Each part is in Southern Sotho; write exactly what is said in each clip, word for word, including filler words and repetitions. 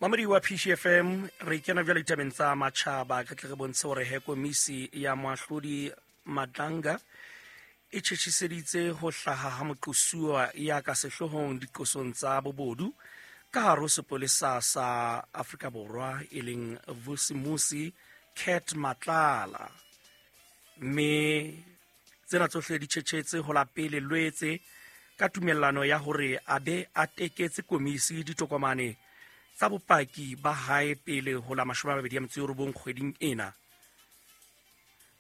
Mamedi wa P C F M, re kena jwale ditabeng tsa matjhaba. Re tle re bontshe hore he komisi ya moahlodi Madlanga e tjhetjhiseditse ho hlaha ha moqosuwa ya ka sehloohong diqosong tsa bobodu ka hare ho sepolesa sa Afrika Borwa, e leng Vusimusi Cat Matlala. Mme tsena tsohle di tjhetjhetse ho la pele Lwetse ka tumellano ya hore a be a teketse komisi ditokomane tsa bopaki ba hae pele ho la mashome a mabedi a metso e robong kgweding ena.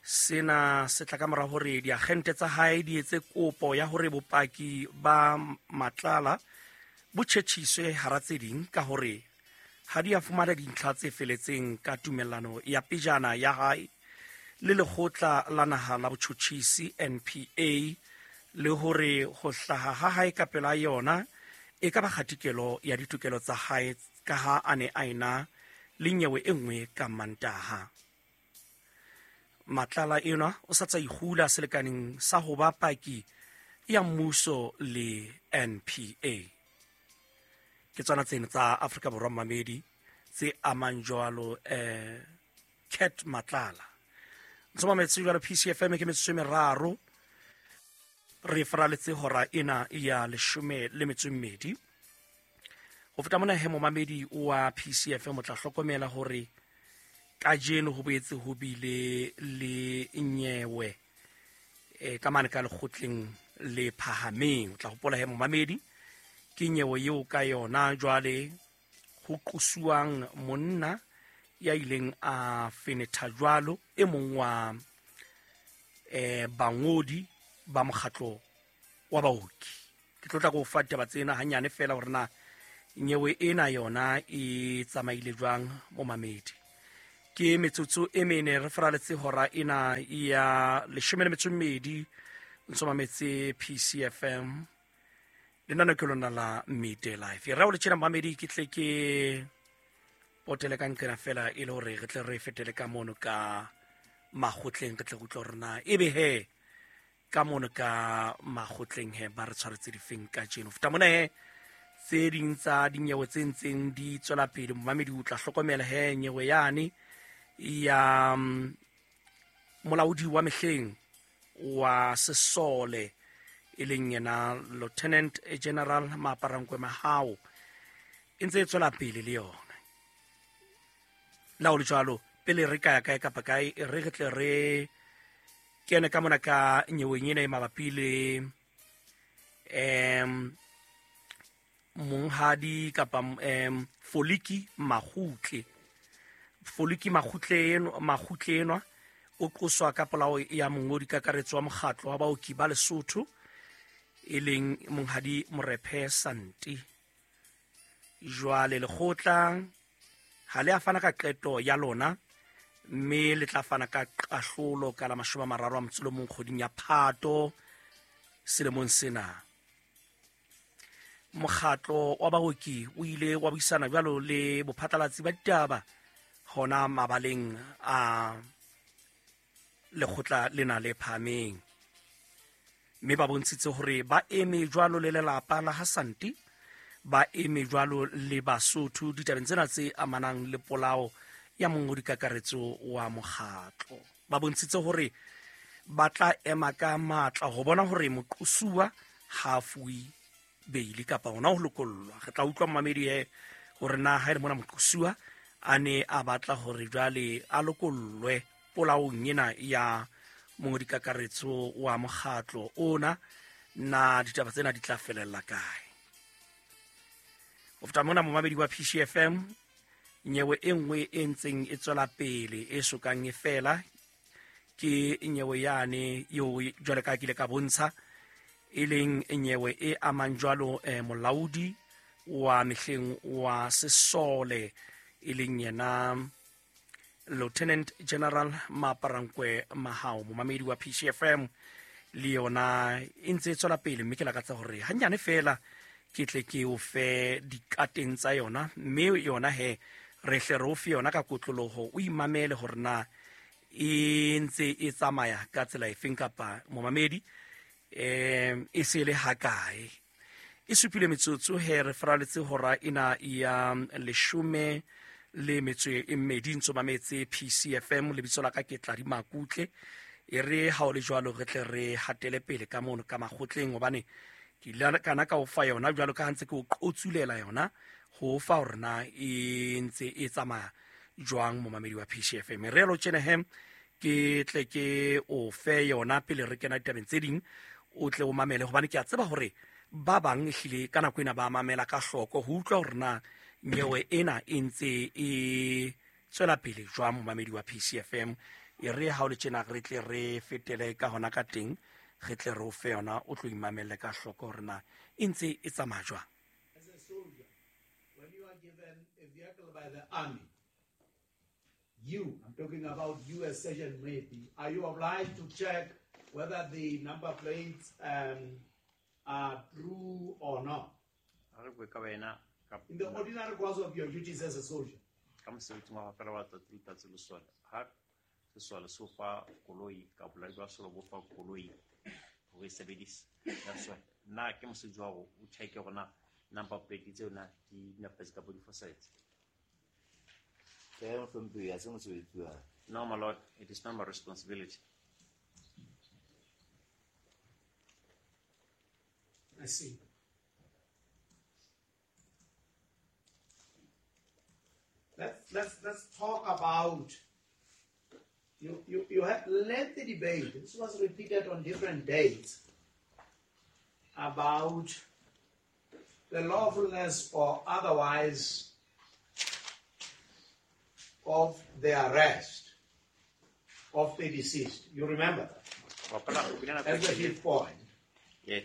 Sena se tla ka mora hore diagente tsa hae di etse kopo ya hore bopaki ba Matlala bo tjhetjhiswe hara tse ding ka hore ha di a fumana dintlha tse feletseng ka tumellano ya pejana ya hae le lekgotla la naha la botjhotjhisi N P A, le hore ho hlaha ha hae ka pela yona e ka ba kgatikelo ya ditokelo tsa hae ka ha a ne a ena le nyewe e nngwe ka Mantaha. Matlala enwa o sa tsa ikgula selekaneng sa ho ba paki ya mmuso le N P A. Ke tsona tseno tsa Afrika Borwa mamedi tse amang jwalo eh Cat Matlala. Ntse mametse jwalo P C F M ke metsotso e meraro re faraletse hora ena ya leshome le metso e mmedi. Ho feta mona he momamedi wa P C F M o tla hlokomela hore kajeno ho boetse ho bile le nyewe e ka mane ka lekgotleng le phahameng. O tla hopola he momamedi ke nyewe eo ka yona jwale ho qosuwang monna ya ileng a fenetha jwalo e mong wa eh bangodi ba mokgatlo wa baoki. Ke tlo tla go fa ditaba tsena hanyane fela hore na nyewe ena yona e tsamaile jwang momamedi. Ke metsotso e mene re faraletse hora ena ya leshome le metso e mmedi ntse mametse P C F M lenaneo ke lona la Midday Life. Re o le tjena mamedi ke tle ke potele ka nqena fela e le hore re tle re fetele ka mono ka makgotleng, re tle re utlwe hore na ebe he ka mono ka makgotleng he ba re tshwaretse difeng kajeno. Feta mona he tse ding tsa dinyewe tse ntseng di tswela pele momamedi o tla hlokomela he nyewe yane ya molaodi wa mehleng wa sesole e leng yena Lieutenant General Maaparankoe Mahao e ntse e tswela pele le yona. La ho le jwalo pele re ka ya kae kapa kae re re tle re kene ka mona ka nyeweng ena e mabapi le em monghadi kapa em Foliki Magutle. Foliki Magutle eno Magutle enwa o qoswa ka polao ya mongodi kakaretso wa mokgatlo wa baoki ba Lesotho e leng monghadi Morephe Santi. Jwale lekgotla ha le a fana ka qeto ya lona mme le tla fana ka kahlolo ka la mashome a mararo a motso o mong kgweding ya Phato selemong sena. Mokgatlo wa baoki o ile wa buisana jwalo le bophatlalatsi ba ditaba hona mabaleng a lekgotla lena le phahameng, mme ba bontshitse hore ba eme jwalo le lelapa la ha Santi, ba eme jwalo le Basotho ditabeng tsena tse amanang le polao ya mongodi kakaretso wa mokgatlo. Ba bontshitse hore ba tla ema ka matla ho bona hore moqosuwa ha a fuwe beili kapa hona ho lokollwa. Re tla utlwa mamedi he hore na ha e le mona moqosuwa a ne a batla hore jwale a lokollwe polaong ena ya mongodi kakaretso wa mokgatlo ona, na ditaba tsena di tla felella kae. Ho feta mona momamedi wa P C F M, nyewe e nngwe e ntseng e tswela pele e sokang e fela ke nyewe yane eo jwale ka kile ka bontsha e leng nyewe e amang jwalo eh, molaodi wa mehleng wa sesole e leng yena Lieutenant General Maaparankoe Mahao. Momamedi wa P C F M le yona e ntse e tswela pele, mme ke lakatsa hore hanyane fela ke tle ke o fe dikateng tsa yona, mme yona he re hle re o fe yona ka kotloloho, o imamele hore na e ntse e tsamaya ka tsela efeng kapa momamedi eh e se le hakae. E supile metsotso he re faraletse hora ena ya leshome le metso e mmedi ntso mametse P C F M. Lebitso la ka ke Tladi Makutle. E re ha o le jwalo re tle re hatele pele ka mono ka makgotleng, hobane ke ile kana ka o fa yona jwalo ka ha ntse ke o qotsulela yona ho fa hore na e ntse e tsamaya jwang momamedi wa P C F M. Re lo tjena he ke tle ke o fe yona pele re kena ditabeng tse ding, o tle o mamele, hobane ke a tseba hore ba bang ehlile ka nako ena ba mamela ka hloko ho utlwa hore na nyewe ena e ntse e tswela pele jwang momamedi wa P C F M. E re ha o le tjena re tle re fetele ka hona ka teng, re tle re o fe yona o tlo imamelle ka hloko hore na e ntse e tsamaya jwang. As a soldier, when you are given a vehicle by the army, you, I'm talking about you as Sergeant Moepi, are you obliged to check whether the number plates um, are true or not? In the ordinary course of your duties as a soldier. No, my lord, it is not my responsibility. I see. Let's let's let's talk about you you, you had lengthy debate. This was repeated on different dates about the lawfulness or otherwise of the arrest of the deceased. You remember that? That's the fifth point. Yeah,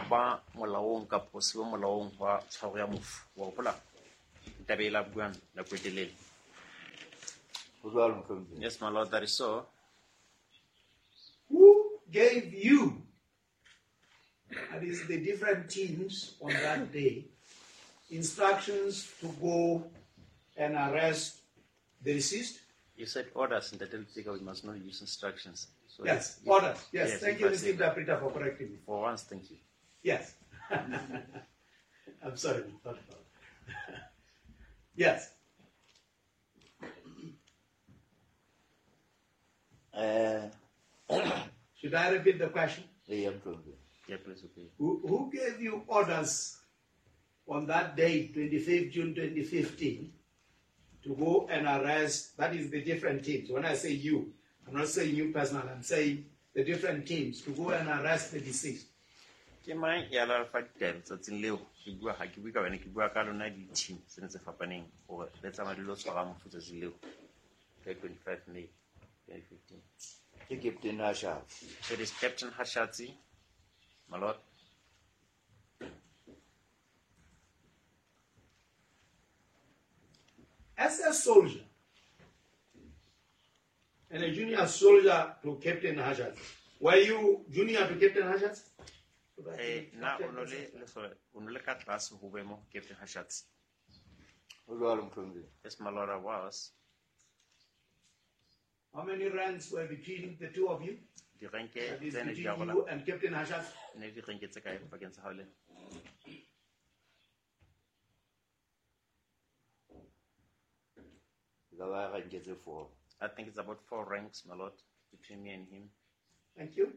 ba molaong kapa se molaong wa tshwaro ya mofu wa hopola taba e la buang nako e telele. Yes, my lord, that is so. Who gave you, that is the different teams on that day, instructions to go and arrest the deceased? You said orders in the Speaker, we must not use instructions. So yes, if, orders. Yes, yes, thank you, Mister Interpreter, for correcting me. For once, thank you. Yes. I'm sorry. Not about. Yes. Uh, Should I repeat the question? Yeah, yeah, please. Okay. Who, who gave you orders on that day, twenty-fifth June twenty fifteen, to go and arrest, that is the different teams. When I say you, I'm not saying you personally, I'm saying the different teams to go and arrest the deceased. Ke mang ya la fa ditaba tsatsing leo ke bua ha ke bue ka wena ke bua ka lona di-team tsena tse fapaneng hore le tsamaya di lo tshwara mofu tsatsing leo ka twenty-five May twenty fifteen. Ke Captain Hashatsi. It is Captain Hashatsi, my lord. As a soldier, and a junior soldier to Captain Hashatsi, were you junior to Captain Hashatsi? Eh, na o no le lesole, o no le ka tlase ho boemo Captain Hashatsi. Yes, my lord, I was. How many ranks were between the two of you? Di-ranke That is tse ne di between arola. you and Captain Hashatsi. Ne di-ranke tse kae pakeng tsa hao le? Four. I think it's about four ranks, my lord, between me and him. Thank you.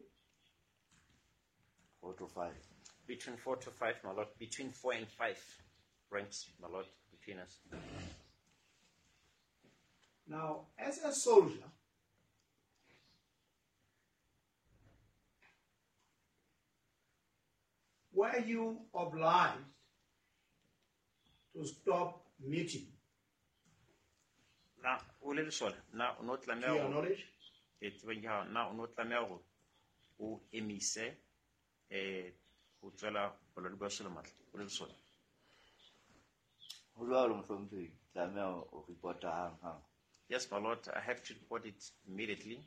Four to five. Between four to five, my lord. Between four and five ranks, my lord, between us. Now, as a soldier, were you obliged to stop meeting? Na o le lesole, na o no tlameha To your ho knowledge? E tsebeng ya hao, na o no tlameha hore o emise, eh, ho tswela bolaodi ba sole matla, o le lesole? Ho jwalo, mohlomphehi, tlameha ho report-a hang hang. Yes, my lord, I have to report it immediately.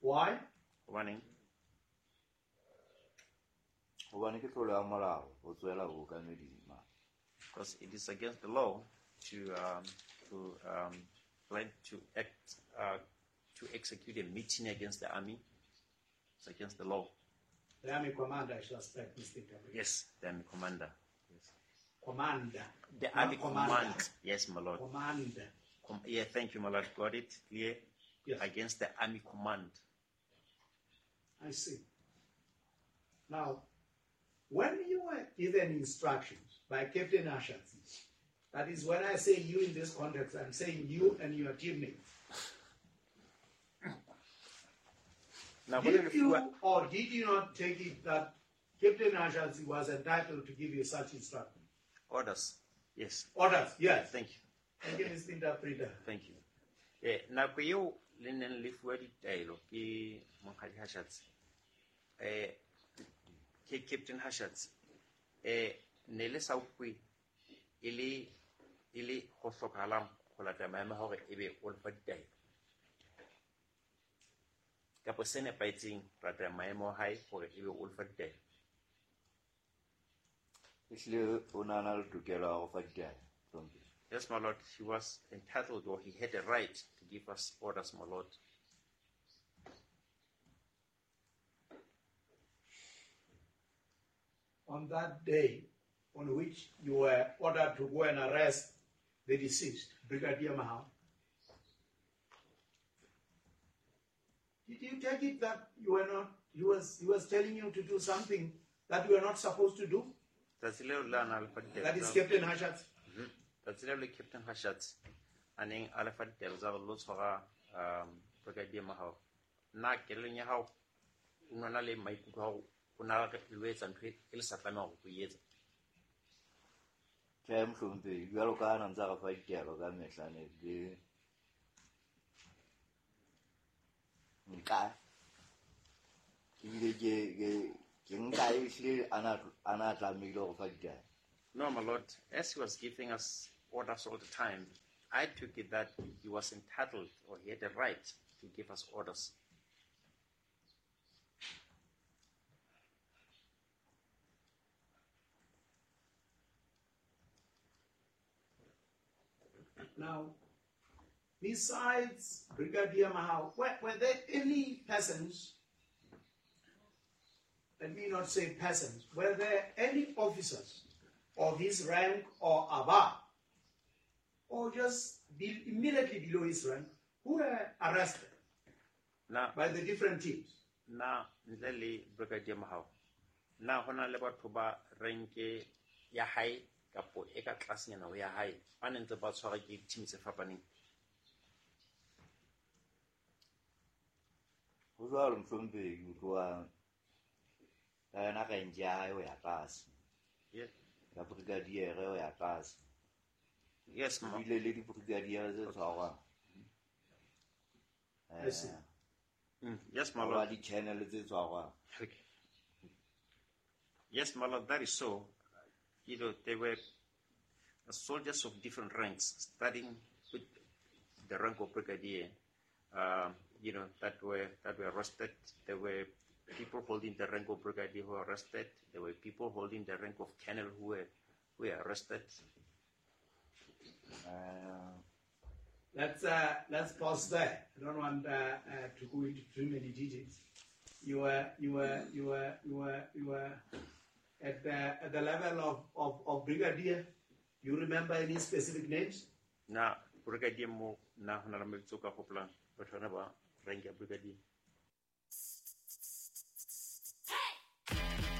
Why? Hobaneng? Hobane ke tlolo ya molao ho tswela bookameding mane. Because it is against the law to, um, to, um, plan to act, uh, to execute a mutiny against the army. It's against the law. The army commander, I suspect, Mister Interpreter. Yes, the army commander. Yes. Commander. The Not army commander. command. Yes, my lord. Commander. Com- yeah, thank you, my lord. Got it clear. Yes. Against the army command. I see. Now, when you were given instructions by Captain Hashatsi, that is, when I say you in this context, I'm saying you and your teammates. Now, when Did you you or did you not take it that Captain Hashatsi was entitled to give you such instructions? Orders. Yes. Orders, yes. Thank you. Thank you, Mister Interpreter. Thank you. Eh, nako eo le neng le fuwa ditaelo ke Monghadi Hashatsi, eh, ke Captain Hashatsi, eh, ne le sa ukwe e le, e le ho hlokahalang ho latela maemo a hore ebe o lefa ditaelo. Kapo se nepahetseng ho latela maemo a hae hore ebe o lefa ditaelo. Ehlile o na na le tokelo ya ho fa ditaelo, hlomphehi. Yes, my lord, he was entitled, or he had a right to give us orders, my lord. On that day on which you were ordered to go and arrest the deceased, Brigadier Mahao, did you take it that you were not, he was, he was telling you to do something that you were not supposed to do? Tsatsi leo le a na le fa ditaelo That is tsa- Captain Hashatsi. Mm-hmm. Tsatsi leo le Captain Hashatsi a neng a le fa ditaelo tsa hore lo tshwara, um, Brigadier Mahao. Na kelellong ya hao o nona le maikutlo a hore o na re lo etsa ntho e le sa tlamehang hore o e etsa? Tjhe, mohlomphehi, jwalo ka ha na ntse a re fa ditaelo ka mehla ne ke nka ebile ke, ke, ke nka ehlile a na, a na tlamehile ho fa ditaelo. No, my lord, as he was giving us orders all the time, I took it that he was entitled or he had the right to give us orders. Now, besides Brigadier Mahao, were, were there any persons, let me not say persons, were there any officers of his rank or above, or just be immediately below his rank, who were arrested Na, by the different teams? Na, ntle le Brigadier Mahao, na hona le batho ba renke ya hae kapo e ka tlasenyana ho ya hae, ba ne ntse ba tshwarwa ke di-team tse fapaneng? Ho jwalo, mohlomphehi, ke utloa ka yona rank ya hae ho ya tlase. Yeah. Ka brigadier ho ya tlase. Yes, ma'am. Ebile le di-brigadier tse tshwarwang. I see. Eh, Mm, yes, my ba lord. di-channel tse tshwarwang. Okay. Yes, my lord, that is so. You know, they were soldiers of different ranks, starting with the rank of brigadier, um, you know, that were, that were arrested. There were people holding the rank of brigadier who were arrested. There were people holding the rank of colonel who were, who were arrested. Uh, let's, uh, let's pause there. I don't want, uh, uh, to go into too many details. You were, you were, you were, you were, you were at the, at the level of, of, of brigadier. You remember any specific names? Na brigadier mo na hona le mabitso ka hopolang batho bana ba rank ya brigadier.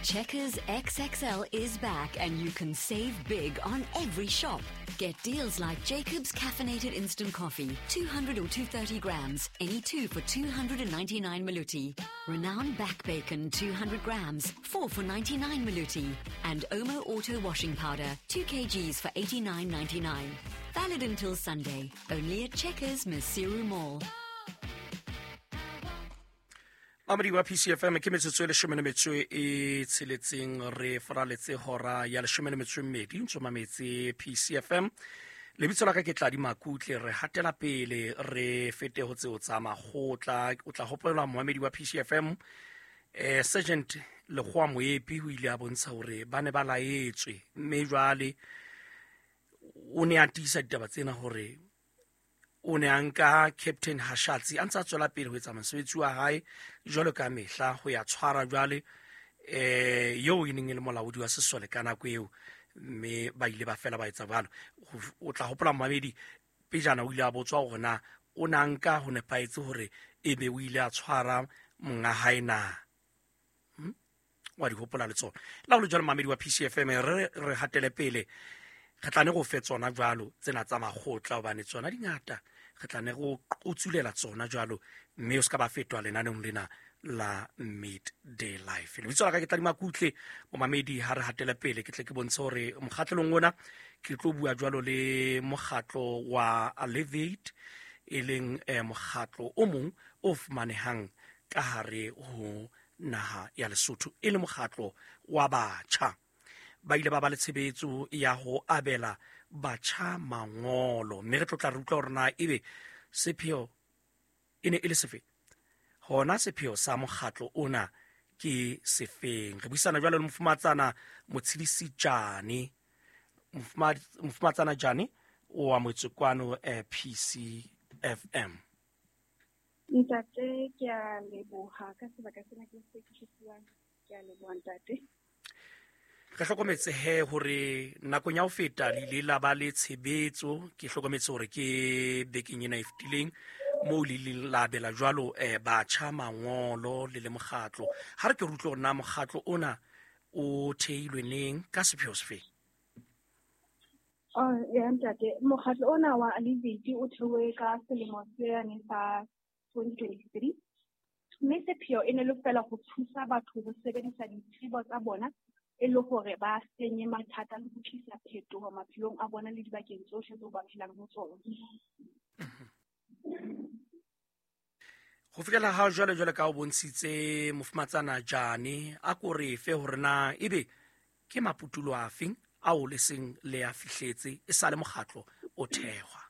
Checkers X X L is back and you can save big on every shop. Get deals like Jacob's Caffeinated Instant Coffee, two hundred or two thirty grams, any two for two hundred and ninety-nine Maluti. Renown Back Bacon, two hundred grams, four for ninety-nine Maluti. And Omo Auto Washing Powder, two kilograms for eighty-nine ninety-nine. Valid until Sunday, only at Checkers Maseru Mall. Mamedi wa P C F M ke metsotso e leshome le metso e tsheletseng re faraletse hora ya leshome le metso e mmedi ntso mametse P C F M. Lebitso la ka ke Tladi Makutle, re hatela pele re fete ho tseo tsa makgotla. O tla hopola moamedi wa P C F M, eh, Sergeant Lekgowa Moepi o ile a bontsha hore ba ne ba laetswe, mme jwale o ne a tiisa ditaba tsena hore o ne a nka Captain Hashatsi a ntse a tswela pele ho etsa mosebetsi wa hae jwalo ka mehla ho ya tshwara jwale eh eo e neng e le molaodi wa sesole ka nako eo, mme ba ile ba fela ba etsa jwalo. O tla hopola mmamedi pejana o ile a botswa hore na o na nka ho nepahetse hore ebe o ile a tshwara monga hae na. Hmm? Wa di hopola le tsona. La ho le jwalo mmamedi wa P C F M, re re hatele pele, re tla ne go fe tsona jwalo tsena tsa makgotla hobane tsona di ngata, re tla ne go qotsulela tsona jwalo, mme o ska ba fetwa lenaneong lena la Midday Life. Lebitso la ka ke Tladi Makutle, momamedi, ha re hatele pele ke tle ke bontshe hore mokgatlong ona ke tlo bua jwalo le mokgatlo wa Alleviate, e leng eh, mokgatlo o mong o fumanehang ka hare ho naha ya Lesotho, e le mokgatlo wa batjha. Ba ile ba ba le tshebetso ya ho abela batjha mangolo, mme re tlo tla re utlwa hore na ebe sepheo e ne e le sefe, hona sepheo sa mokgatlo ona ke sefeng. Re buisana jwalo le mofumatsana Motshidisi Jane, mofumatsana Jane o wa Motsekwano eh, P C F M. Ntate, ke a leboha ka sebaka sena ke se ke se fuwang. Ke a leboha ntate. Re hlokometse he hore nakong ya ho feta le ile la ba le tshebetso, ke hlokometse hore ke bekeng ena e fetileng moo le ileng la abela jwalo eh, batjha mangolo le le mokgatlo. Ha re ke re utlwe hore na mokgatlo ona o theilwe neng ka sepheo sefe? Oh, ya ntate, mokgatlo ona wa Alleviate o theuwe ka selemo se yane sa twenty twenty-three. Mme sepheo e ne le fela ho thusa batho ho sebedisa ditsebo tsa bona e le hore ba senye mathata le ho tlisa phetoho maphelong a bona le dibakeng tsohle tseo ba phelang ho tsona. Ho fihlela ha jwale jwale ka o bontshitse mofumatsana Jane, a ko re fe hore na ebe ke maputulo afeng ao le seng le a fihletse e sa le mokgatlo o thehwa.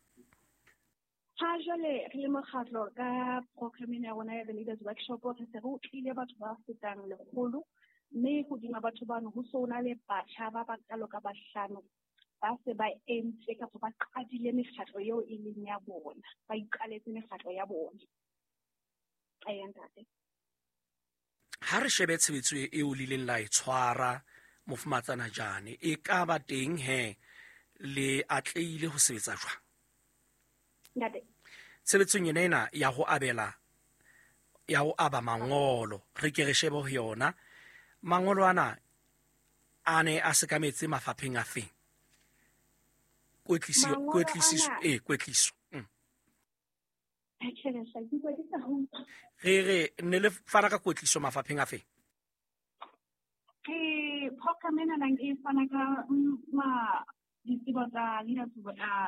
Ha jwale re le mokgatlo ka program ya rona ya The Leaders Workshop, re se re utlwile batho ba fetang lekgolo, mme hodima batho bano ho so na le batjha ba bakalo ka bahlano ba se ba entse kapa ba qadile mekgatlo eo e leng ya bona, ba iqaletse mekgatlo ya bona. Eya ntate. Ha re shebe tshebetso eo le ileng la e tshwara mofumatsana Jane, e ka ba teng he le atlehile ho sebetsa jwang? Ntate, tshebetsong ena ena ya ho abela ya ho aba mangolo, re ke re shebe ho yona. Mangolo ana a ne a sekametse mafapheng a feng? Kwetliso, kwetliso, eh kwetliso. Mm. Re re ne le fana ka kwetliso mafapheng a feng? Ke program ena nang e fana ka ma ditsebo tsa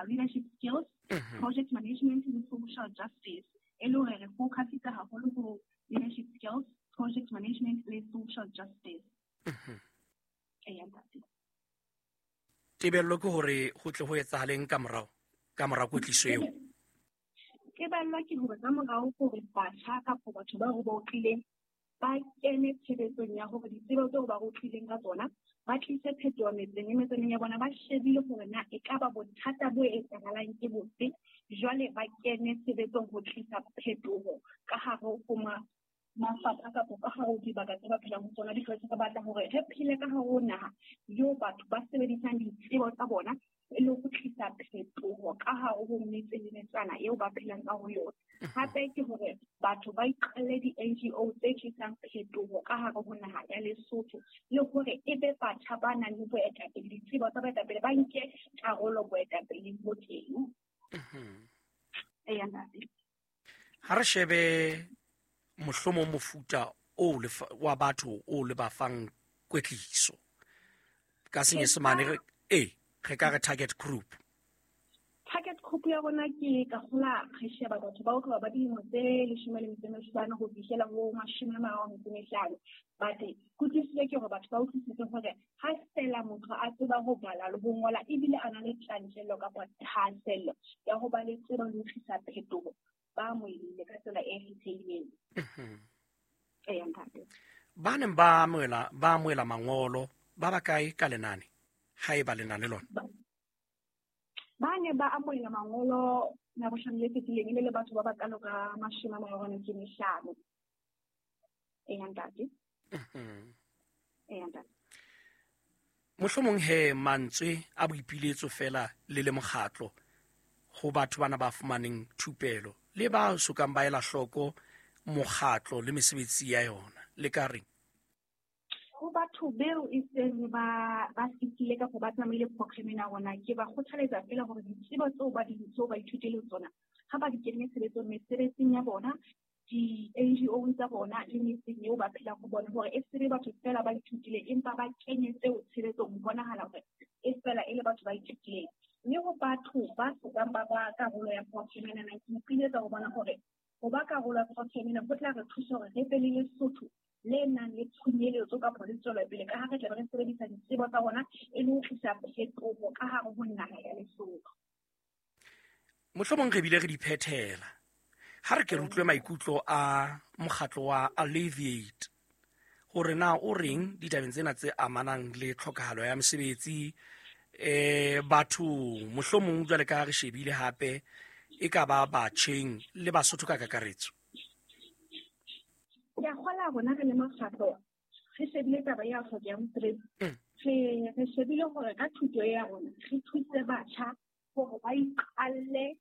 leadership skills, mm-hmm. project management le social justice. E le hore re focusitse haholo ho leadership skills, project management le social justice. Mm-hmm. Eya ntate. Tebello ke hore ho tle ho etsahaleng ka morao, ka mora kwetliso eo? Tebello ke hore ka morao hore batjha kapa batho ba re ba utlwileng ba kene tshebetsong ya hore ditsebo tseo ba utlwileng ka tsona ba tlise phetoho metseng e metsaneng ya bona, ba shebile hore na e ka ba bothata bo etsahalang ke bofe, jwale ba kene tshebetsong ho tlisa phetoho ka hare ho ma mafapha kapa ka hare ho dibaka tse ba phelang ho tsona. Because re batla hore re phele ka hare ho naha eo batho ba sebedisang ditsebo tsa bona e le ho tlisa phetoho ka hare ho metse le metsana eo ba phelang ka ho yona. Hape ke hore batho ba iqalle di-N G O tse tlisang phetoho ka hare ho naha ya Lesotho, le hore e be batjha ba nang le boetapele, ditsebo tsa boetapele, ba nke karolo boetapeleng bo teng. Eya ntate. Ha re shebe mohlomong mofuta o le wa batho o le ba fang kwetliso ka senyesemane, re eh re ka re target group. Target group ya rona ke ka hola re sheba batho ba otloba ba dilemo tse leshome le metso e mehlano ho fihlela ho mashome a mararo a metso e mehlano. But kutlwisiso ke hore batho ba utlwisise hore ha fela motho a tseba ho bala le ho ngola ebile a na le tjantjello kapa thahasello ya ho ba le tsebo le ho tlisa phetoho, ba amohele ka tsela e kgethehileng. Eya ntate. Ba neng ba amohela ba amohela mangolo ba ba kae ka lenane haeba lenane lona? Ba ne ba amohela mangolo Labohlano le fetileng e le le batho ba bakalo ka mashome a mararo a metso e mehlano. Eya ntate. Eya ntate. Mohlomong he mantswe a boipiletso fela le le mokgatlo ho batho bana ba fumaneng thupelo le ba sokang ba ela hloko mokgatlo le mesebetsi ya yona le ka reng? Ho batho beo e seng ba ba fetile kapa ba tsamaile programmeng ya rona, ke ba kgothaletsa fela hore ditsebo tseo ba di tseo ba ithutileng tsona ha ba di kenye tshebetsong mesebetsing ya bona, di-N G O tsa bona le metseng eo ba phelang ho bona, hore e se be batho fela ba ithutile empa ba kenye tseo tshebetsong ho bonahala hore e fela e le batho ba ithutileng. Mme ho batho ba sokang ba ba karolo ya programme ena, ke ipiletsa ho bona hore ho ba karolo ya programme ena ho tla re thusa hore re be le Lesotho le nang le tshenyeletso kapa le tswelopele, ka ha re tlabe re sebedisa ditsebo tsa rona e le ho tlisa phetoho ka hare ho naha ya Lesotho. Mohlomong re bile re di phethela ha re ke re utlwe maikutlo a mokgatlo wa Alleviate hore na o reng ditabeng tsena tse amanang le tlhokahalo ya mesebetsi eh batho mohlomong jwale ka re shebile hape e ka ba batjheng le Basotho ka kakaretso. Ke a kgola rona re le mokgatlo re shebile taba ya tlhokeho ya mosebetsi, re re shebile hore ka thuto ya rona re thuse batjha hore ba iqalle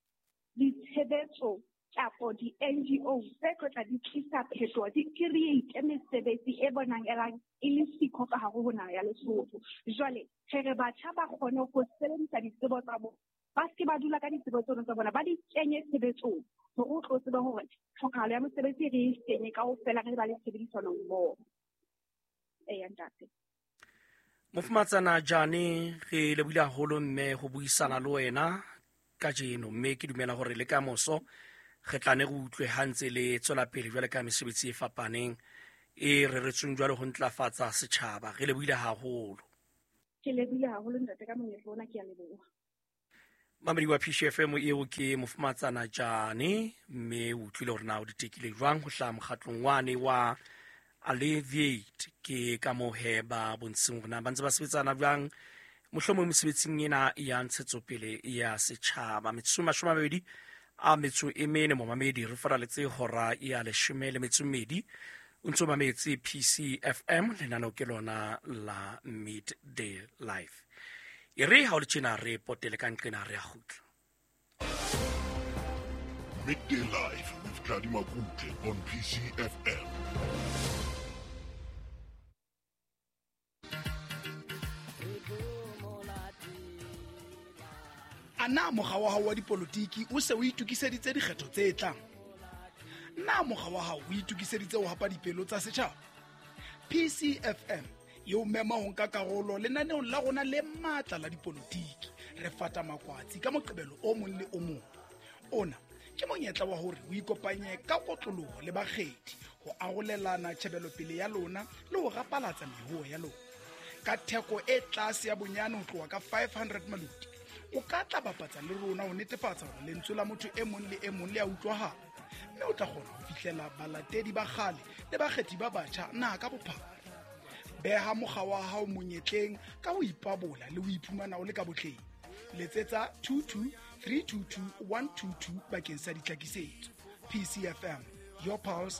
ditshebetso kapa di-N G O tse tlo tla di tlisa phetoho, di create mesebetsi e bonahalang e le siko ka hare ho naha ya Lesotho. Jwale re re batjha ba kgone ho sebedisa ditsebo tsa bona, ba se ke ba dula ka ditsebo tseno tsa bona, ba di kenye tshebetsong hore o tlo tsebe hore tlhokahalo ya mosebetsi re e kenye kaofela re ba le tshebedisano mmoho. Eya ntate. Mofumatsana Jane, re lebohile haholo mme ho buisana le wena kajeno, mme ke dumela hore le ka moso re tla ne re utlwe ha ntse le tswela pele jwale ka mesebetsi e fapaneng e reretsweng jwale ho ntlafatsa setjhaba. Re lebohile haholo. Ke lebohile haholo ntate ka monyetla ona, ke a leboha. Mamedi wa P C F M eo ke Mofumatsana Jane, mme o utlwile hore na o di tekile jwang ho hlaha mokgatlong wane wa Alleviate. Ke ka moo he ba bontsheng hore na ba ntse ba sebetsana jwang mohlomong mesebetsing ena ya ntshetsopele ya setjhaba. Metsotso e mashome a mabedi a metso e mene momamedi, re faraletse hora ya leshome le metso e mmedi. O ntso mametse P C F M, lenaneo ke lona la Midday Life. E re ha o le tjena re potele ka nqena re a kgutla. Midday Life with Tladi Makutle on P C F M. A na mokga wa hao wa dipolotiki o se o itokiseditse dikgetho tse tlang? Na mokga wa hao o itokiseditse ho hapa dipelo tsa setjhaba? P C F M e o mema ho nka karolo lenaneong la rona le matla la dipolotiki. Re fata makwatsi ka Moqebelo o mong le o mong. Ona ke monyetla wa hore o ikopanye ka kotloloho le bakgethi ho arolelana tjhebelopele ya lona le ho rapalatsa mehoho ya lona. Ka theko e tlase ya bonyane ho tloha ka five hundred maloti, o ka tla bapatsa le rona ho netefatsa hore lentswe la motho e mong le e mong le a utlwahala, mme o tla kgona ho fihlela balatedi ba kgale le bakgethi ba batjha naha ka bophara. Beha mokga wa hao monyetleng ka ho ipabola le ho iphumana o le ka botleng. Letsetsa two two three two two one two two bakeng sa ditlhakisetso. P C F M, your pulse,